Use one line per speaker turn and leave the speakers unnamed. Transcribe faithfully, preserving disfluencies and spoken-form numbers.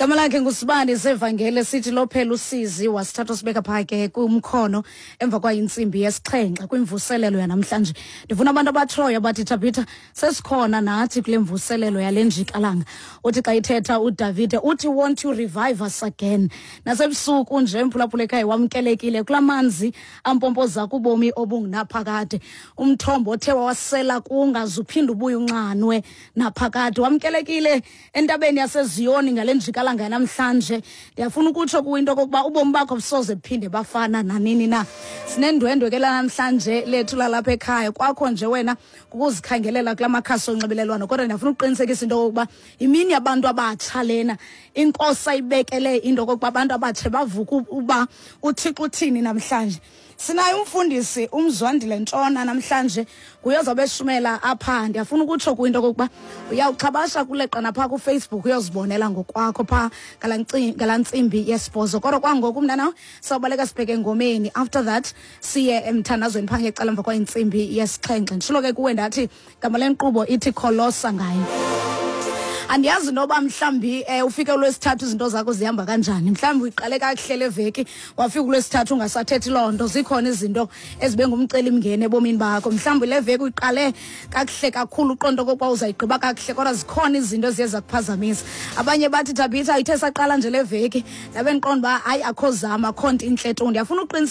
Igama lakhe nguSibani Sevangele, sithi lophela usizi. Wasithatha sibeka phaa ke kumkhono emva kwayintsimbi yesixhenxe kwimvuselelo yanamhlanje. Ndifuna abantu abatshoyo bathi, "Thabitha, sesikhona nathi kule mvuselelo yale njikalanga." Uthi xa ithetha uDavide uthi, "Won't you revive us again?" Nasebusuku nje, mphulaphula ekhaya, wamkelekile kula manzi ampompoza kubomi obungunaphakade, umthombo othe wawasela kungaze uphinde ubuye unxanwe naphakade. Wamkelekile entabeni yaseZiyoni ngale njikalanga yanamhlanje. Ndiyafuna ukutsho kuwe into okokuba ubomi bakho busoze buphinde bafana nanini na. Sinendwendwe ke lanamhlanje lethu lalapha ekhaya. Kwakho nje wena kukuzikhangelela kula makhasi onxibelelwano, kodwa ndiyafuna ukuqinisekisa into okokuba imini yabantu abatsha lena. Inkosi ayibekele into okokuba abantu abatsha bavuke uba uThixo uthini namhlanje. Sinaye umfundisi uMzwandile Ntshona namhlanje, nguye ozobe eshumela apha. Ndiyafuna ukutsho kwinto okokuba uyawuxhabasha kuleqa naphaa kuFacebook, uyozibonela ngokwakho phaa ngalaa ntsimbi yesibhozo. Kodwa kwangoku mntana sawubaleka sibheke engomeni, after that siye emthandazweni phaa ngecala emva kwayintsimbi yesixhenxe. Nditshilo ke kuwe ndathi gama lenkqubo ithi Kholosa Ngayo. Andiyazi noba mhlambi eh, ufike uLwesithathu izinto zakho zihamba kanjani. Mhlawumbi uyiqale kakuhle le veki, wafika uLwesithathu ungasathethi loo nto. Zikhona izinto ezibe ngumcelimngeni ebomini bakho. Mhlawumbi le veki uyiqale kakuhle kakhulu, uqonda okokuba uzayigqiba kakuhle, kodwa zikhona izinto eziye zakuphazamisa. Abanye bathi, "Thabitha, ithe saqala nje le veki ndabe ndiqonda uba hayi, akho zama, akho nto intle tu." Ndiyafuna uqiniseka.